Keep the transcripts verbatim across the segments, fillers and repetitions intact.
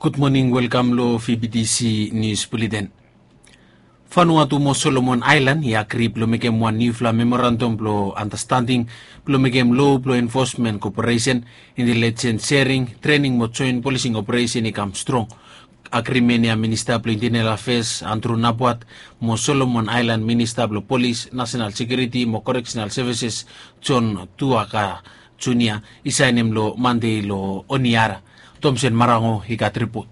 Gud moning, welkam long V B T C Nius Buleten. Vanuatu mo Solomon Aelan i agri blong mekem wan niufala memorandam blong andastanding blong mekem lo blong enfosmen koperesen, intelijens sering, trening mo joen polising operesen i kam strong. Agrimen ya Minista blong Intenel Afeas Andrew Napuat mo Solomon Aelan Minista blong Polis, Nasenal Sekiuriti mo Koreksenal Sevises John Tuaka Junia i saenem long Mande long Honiara. Tomsen Marango i gat ripot.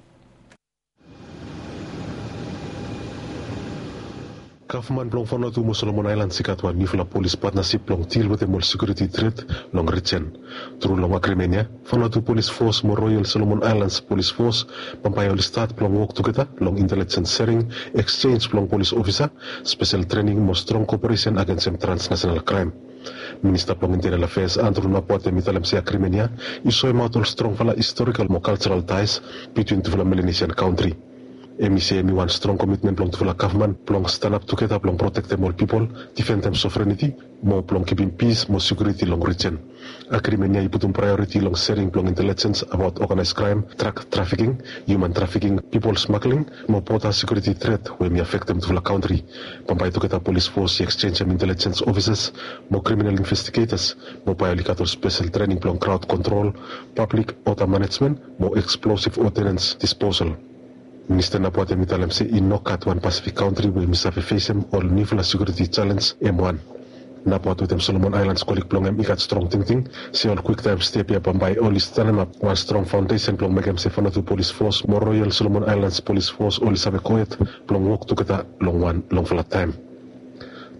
Gavman blong Vanuatu mo Solomon Aelan i gat wan niufala polis patnasip blong dil wetem ol sekiuriti tret long rijen. Tru long agrimen ya, Vanuatu Polis Fos mo Royal Solomon Aelan Polis Fos bambae oli stat blong wok tugeta long intelijens sering, eksenj blong polis ofisa, spesel trening mo strong koperesen agensem transnasenal kraem. Minista blong Intenel Afeas Andrew Napuat hem i talem se agrimen ya i soemaot ol strongfala istorikal mo kaljeral taes bitwin tufala Melanesian kantri. Hem i se hem i wan strong komitmen blong tufala gavman blong stanap tugeta blong protektem ol pipol, difendem sovereniti mo blong kipim pis mo sekiuriti long rijen. Agrimen ya i putum praeoriti long sering blong intelijens abaot oganaes kraem, drak trafiking, hiuman trafiking, pipol smagling mo boda sekiuriti tret we hem i afektem tufala kantri. Bambae tugeta polis fos i eksenjem intelijens ofisas mo kriminal investigetas mo bae oli gat ol spesel trening blong kraod kontrol, pablik oda manejmen mo eksplosif odinens disposal. Minista Napuat hem i talem se i no gat wan Pasifik kantri we hem i save fesem ol niufala sekiuriti jalenj hem wan. Napuat wetem Solomon Aelan kolig blong hem i gat strong tingting se ol kwiktaem step ya bambae oli stanemap wan strong faondesen blong mekem se Vanuatu Polis Fos mo Royal Solomon Aelan Polis Fos oli save gohed blong wok tugeta long wan longfala taem.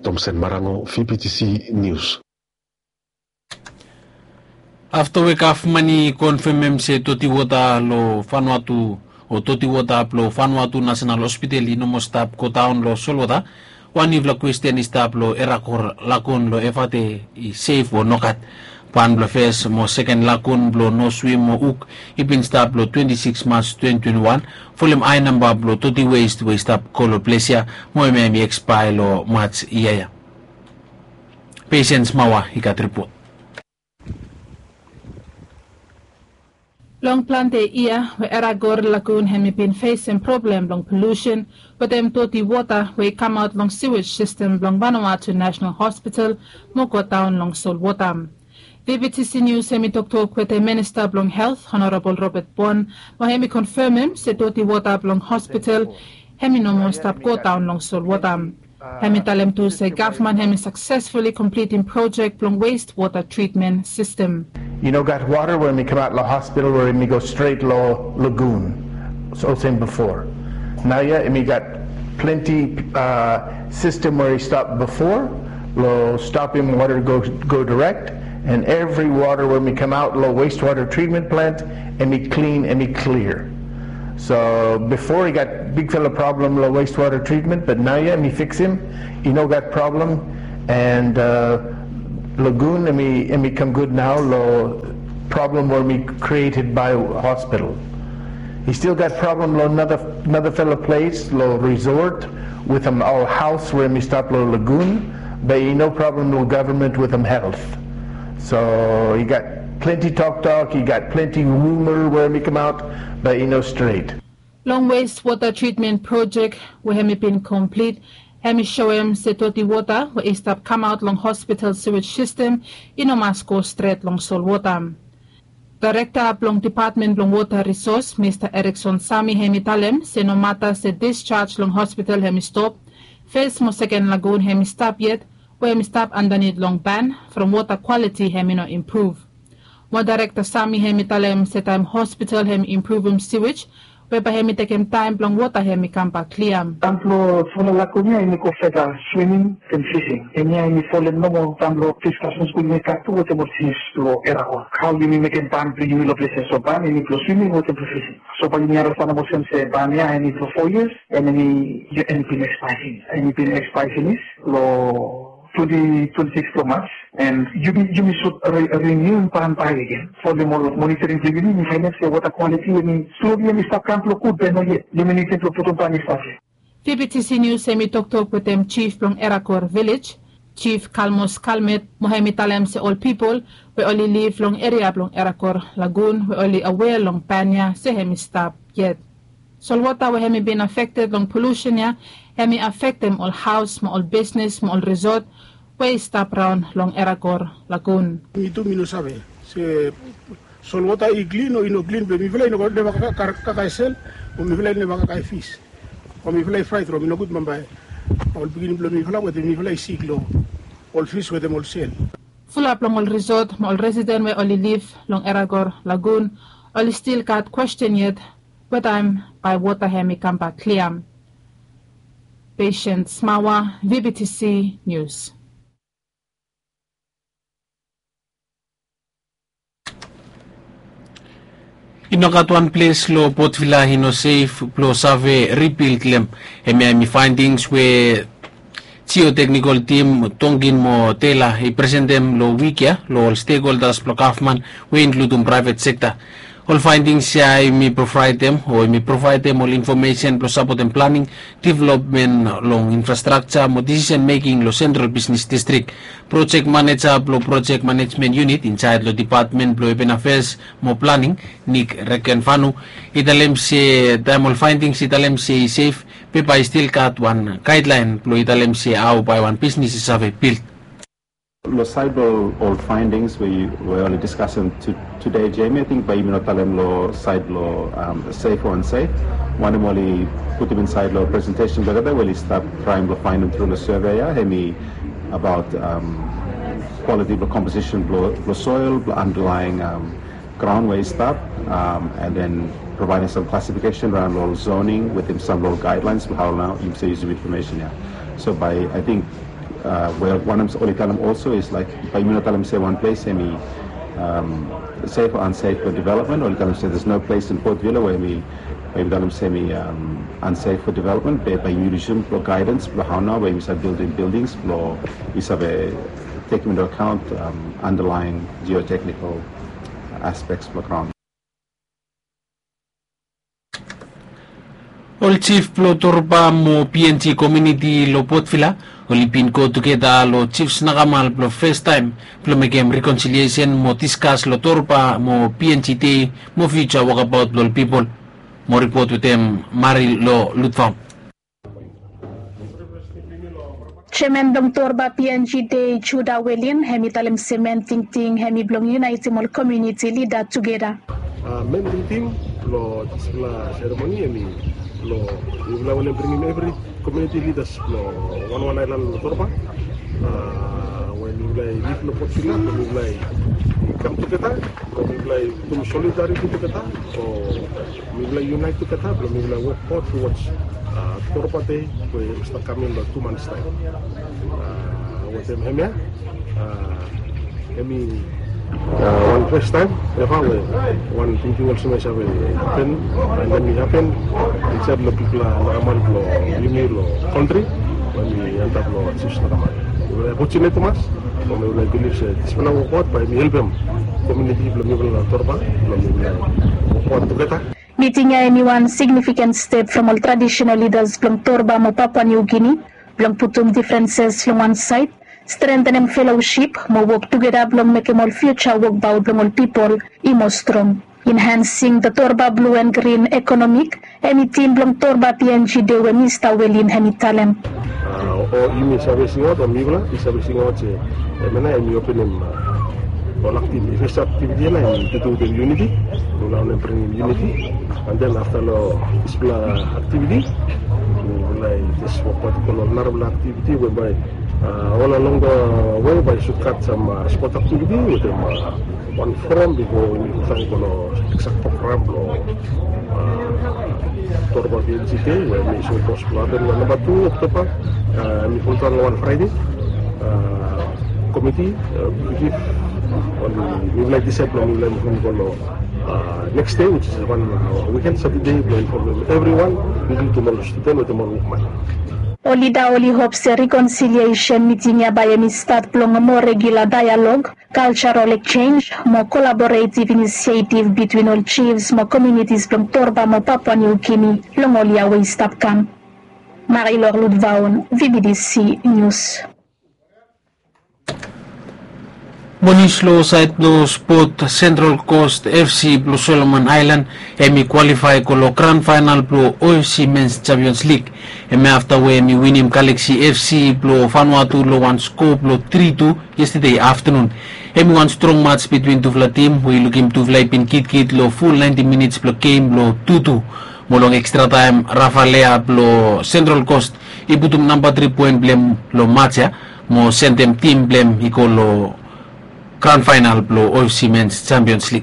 Tomsen Marango, V B T C Nius. Afta we gavman i konfemem se doti wota long Vanuatu o doti wota blong Vanuatu Nasenal Hospital i no moa stap godaon long solwota, wan niufala kwesten i stap long Erakor Lagun long Efate i sef o nogat. Ban blong fes mo seken lagun blong no swim mo uk i bin stap long twenti sikis Mas twenti twenti wan, folem ae namba blong doti west we i stap go long ples ya mo hemia hem i ekspaea long Mas yia ya. Pesens Mawa i gat ripot. Long plante yia we Erakor Lagun hem i bin fesem problem blong polusen wetem doti wota we i kamaot long siwej sistem blong Vanuatu Nasenal Hospital mo godaon long solwota. V B T C Nius hem i toktok wetem Minista blong Helt, Honorabol Robert Bon, mo hem i konfemem se doti wota blong hospital hem i no moa stap godaon long solwota. Hem i talem tu se gavman hem i saksesfuli komplitim projek blong west wota tritmen sistem. I no gat wota we mi kamaot long hospital we mi go stret long lagun olsem bifo. Naoia mi gat plante sistem we i stap bifo long stopim wota go direk, and evri wota we mi kamaot long west wota tritmen plant hem i klin, hem i klia. So bifo i gat bigfala problem long west wota tritmen, bat naoia mi fiksim, i no gat problem, and lagun hem i kam gud nao long problem we mi krieted bae hospital. I stil gat problem long nara fala ples long resort wetem ol haos we mi stap long lagun, bat i no problem long gavman wetem helt. So i gat plante toktok, i gat plante ruma we mi kamaot, bat i no stret. Long west wota tritmen projek we hem i bin komplit, hem i soem se doti wota we i stap kamaot long hospital siwej sistem i no mas go stret long solwota. Daerekta blong Depatmen blong Wota Risos, Mista Erikson Sami hem i talem se nomata se disjaj long hospital hem i stop, fes mo seken lagun hem i stap yet we hem i stap andanit long ban from wota kwaliti hem i no impruv. Mo Daerekta Sami hem i talem se taem hospital hem i impruvum siwej, we bae hem i tekem taem blong wota hem i kambak klia. Taem blong fala lagun ya hem i go feta swiming and fishing. Hemia hem i folem nomo taem blong diskasen skul we i gat tu wetem ol jif blong Erakor. Hao yumi mekem ban blong yumi long ples ya, so ban hem i blong swiming wetem blong fishing. So bae yumi andastan olsem se ban ya hem i blong fo yias, and hem i bin ekspaea finis. Hem i bin ekspaea finis long twenti twenti sikis blong Mas, and yumi sud rinium ban baek agen. Folem ol monitoring blong yumi, yumi faenem se wota kwaliti hem i sloli hem i stap kam blong gud, be noyet. Yumi nidim blong putum ban i stap ya. V B T C Nius hem i toktok wetem jif blong Erakor Vilej, Jif Kalmos Kalmet, mo hem i talem se ol pipol we oli liv long eria blong Erakor Lagun we oli awea long ban ya se hem i stap yet. Solwota we hemi bin afekted long polusen ya, hemi afektem ol haos mo ol bisnis mo ol risot we i stap raon long Eragor Lagun. Mi tu mi no save se solwota i klin o i no klin, be mifala i no neva kakae sel, o mifala i neva kakae fis, o mifala i fraet long mi nogud bambae ol pikinini blong mifala wetem mifala i sik long ol fis wetem ol sel. Fulap long ol risot mo ol residen we oli liv long Eragor Lagun oli stil gat kwesten yet wetaem bae wota hemi kambak klia. Patient Smawa, V B T C News. I no gat wan ples long Port Vila i no sef blong save ribild long hem. Hemia hemi faendings we jioteknikol tim Tonkin mo Tela i presentem long wik ya long ol stekholdas blong gavman we i inkludim praevet sekta. Ol faendings ya hemi provaedem o hemi provaedem ol infomesen blong sapotem planing, developmen long infrastrakja mo disisen meking long sentral bisnis distrik. Projek maneja blong projek manejmen yunit injaed long depatmen blong apen afeas mo planing, Nik Rekenfanu, i talem se taem ol faendings i talem se i sef, be bae i stil gat wan gaedlaen blong i talem se hao bae wan bisnis i save bild. Long saed blong ol faendings we oli diskasem tude, Jamie, ating bae yumi no talem long saed blong sef o ansef. Wanem oli putum insaed long presentesen blong olgeta we oli stap traem blong faenem tru long seve ya, hemi abaot kwaliti blong komposisen blong soel, blong andalaen graon we i stap, and then provaedem sam klasifikesen raon long ol zoning wetem sam long ol gaedlaens blong hao nao yumi save yusum infomesen ya. So bae ating we wanem oli talem olso is laek bae yumi no talem se wan ples hemi sef o ansef blong developmen, oli talem se there's no place in Port Vila we hemi, bae yumi talem se hemi ansef for development, be bae yumi yusum blong gaedans blong hao nao we yumi save bildim bildings blong i save tekem into account underlying geotechnical aspects blong graon. Ol jif blong Torba mo P N G komuniti long Port Vila oli bin go tugeta long Jif Snakamal blong fastaem blong mekem rekonsiliesen mo diskas long Torba mo P N G dei mo fiuja wokabaot blong ol pipol. Mo ripot wetem Mari long Lutfaon. Jeaman blong Torba P N G dei, Juda Welin, hemi talem se men tingting hemi blong yunaetem ol komuniti lida tugeta. Men tingting blong dispela seremoni hemi blong mifala wantem bringim evri komuniti lidas blong wanwan aelan long Torba, we mifala i liv long Port Vila, blong mifala i kam tugeta, blong mifala i putum solidariti tugeta, o mifala i yunaet tugeta blong mifala i wokbaot towards Torba Dei we i stap kam long tu mans taem. Wetem hemia hemi wan fastaem eva we wan tingting olsem i save hapen, and then i hapen insaed long bigfala naraman blong yumi long kantri we mi antap long Jif Snakamal. Mifala i fortunate tumas, o mifala i bilif se dispela wokbaot bae mi helpem komuniti blong mifala long Torba blong mifala wokbaot tugeta. Miting ya hemi wan signifikan step from ol traditional lidas blong Torba mo Papua New Guinea blong putum difrenses long wan saed, strengtenem felosip mo wok tugeta blong mekem ol fiuja wokbaot blong ol pipol i moa strong. Enhancing the Torba Blue and Green Economic, hemi tim blong Torba P N G dei we Mista Welin hemi talem. O yumi save singaot, o mifala i save singaot se hemia nao hemi openem ol aktiviti, fes aktiviti ya nao hemi tu wetem yuniti. Mifala wantem bringim yuniti, and then afta long dispela aktiviti mifala i jes wokbaot i go long ol narafala aktiviti we bae ol along the way bae i sut gat sam spot aktiviti wetem wan foram bifo yumi go saen i go long eksak program blong Torba P N G Dei we hemi sapos blong hapen long namba tu Oktoba. Hemi foldaon long wan Fraede. Komiti, bigif, oli mifala i disaed blong mifala i muvum i go long neks dei, which is wan wiken, Satade, blong infomem evriwan, inkludim ol studen wetem ol wokman. Ol lida oli hop se rekonsiliesen miting ya bae hemi stat blong moa regula daelog, kaljaral ekjenj mo kolaboretiv inisietiv bitwin ol jifs mo komunitis blong Torba mo Papua New Guinea long ol yia we i stap kam. Marilor Ludvaon, V B T C News. Mo nius long saed blong spot, Sentral Kost F C blong Solomon Aelan hem i kwalifae go long gran faenal blong O F C Mens Jampions Lig. Hem i afta we hem i winim Galaksi F C blong Vanuatu long wan skoa blong tri tu yestade aftanun. Hem i wan strong mats bitwin tufala tim we i lukim tufala i bin kitkit long ful naenti minits blong gem blong tu tu. Mo long ekstra taem Rafa Lea blong Sentral Kost i putum namba tri poen blong hem long mats ya mo sendem tim blong hem i go long gran faenal blong O F C Mens Jampions Lig.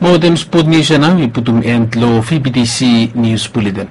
Mo wetem spot nius ya nao i putum en long V B T C Nius Buleten.